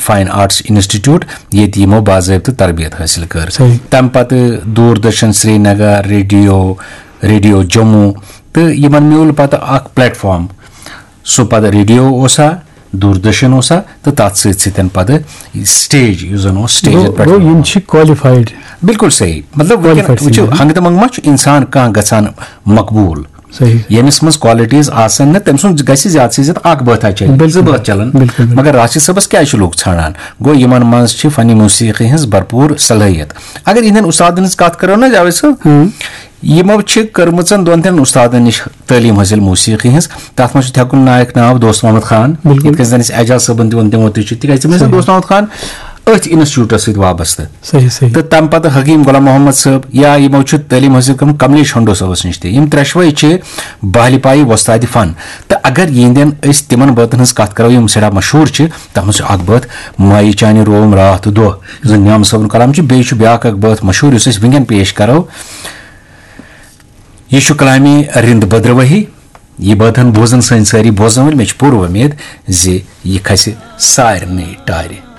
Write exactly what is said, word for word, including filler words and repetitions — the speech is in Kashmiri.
فائن آرٹس انسٹیٹیوٹ، ییٚتہِ یِمو باضٲبطہٕ تربیت حٲصِل کٔر۔ صحیح۔ تَمہِ پتہٕ دوٗردرشن سرینگر، ریڈیو، ریڈیو جموں، تہٕ یِمن میوٗل پتہٕ اکھ پلیٹ فارم۔ سُہ پتہٕ ریڈیو اوسا، دوٗردرشن اوسا، تہٕ تَتھ سۭتۍ سۭتۍ پتہٕ سٹیج، یُس زن اوس سٹیجن گوٚو پٮ۪ٹھ گوٚو یِوان۔ یِم چھِ کوالیفایڈ۔ بالکل صحیح۔ مطلب وٕنکٮ۪ن Qualified وٕچھِو، singer۔ ہنٛگہٕ تہٕ منٛگہٕ ما چھُ انسان کانٛہہ گژھان مقبوٗل؟ صحیح۔ ییٚمِس منٛز qualities آسن نہٕ، تٔمۍ سُنٛد گژھِ زیادٕ سے زیادٕ اکھ بٲتھا چلٕنۍ، بِلکُل۔ زٕ بٲتھ چلن۔ بِلکُل، بِلکُل۔ مگر راشد صٲبس کیٛازِ چھِ لوٗکھ ژھانڈان؟ گوٚو، یِمن منٛز چھِ فنِ موسیقی ہٕنٛز بھرپوٗر صلٲحیت۔ اگر یِہنٛدٮ۪ن استادن ہٕنٛز کتھ کرو نہ جاوید صٲب، ہاں۔ یِمو چھِ کٔرمٕژن دۄن ترٛٮ۪ن استادن نِش تعلیٖم حٲصِل موسیقی ہٕنٛز۔ تتھ منٛز چھُ تھٮ۪کُن نایک ناو دوست محمد خان، بِلکُل۔ یِتھ کٔنۍ زن أسۍ اعجاز صٲبن تہِ ووٚن، تِمو تہِ چھُ، تِکیازِ تِم ٲسۍ نہ صحیح۔ دوست محمد خان أتھۍ انسٹیٹیوٹس سۭتۍ وابستہٕ۔ صحیح، صحیح۔ تہٕ تَمہِ پتہٕ حکیٖم غلام محمد صٲب، یا یِمو چھُ تعلیٖم حٲصِل کٔرمٕژ کملیش ہنڈو صٲبس نِش تہِ۔ یِم ترٛٮ۪شوَے چھِ بہلہِ پایہِ وۄستادِ فن۔ تہٕ اگر یِہنٛدٮ۪ن أسۍ تِمن بٲتن ہٕنٛز کتھ کرو، یِم سٮ۪ٹھاہ مشہوٗر چھِ، تتھ منٛز چھُ اکھ بٲتھ مایہِ چانہِ روم راتھ دۄہ، یُس زن نیام صٲبُن کلام چھُ۔ بیٚیہِ چھُ بیٛاکھ اکھ بٲتھ مشہوٗر، یُس أسۍ وٕنکٮ۪ن پیش کرو۔ یہِ چھُ کلامِ رِند بدرواہی۔ یہِ بٲتن بوزن سٲنۍ سٲری بوزن وٲلۍ۔ مےٚ چھِ پوٗرٕ وۄمید زِ یہِ کھسہِ سارنٕے ٹارِ۔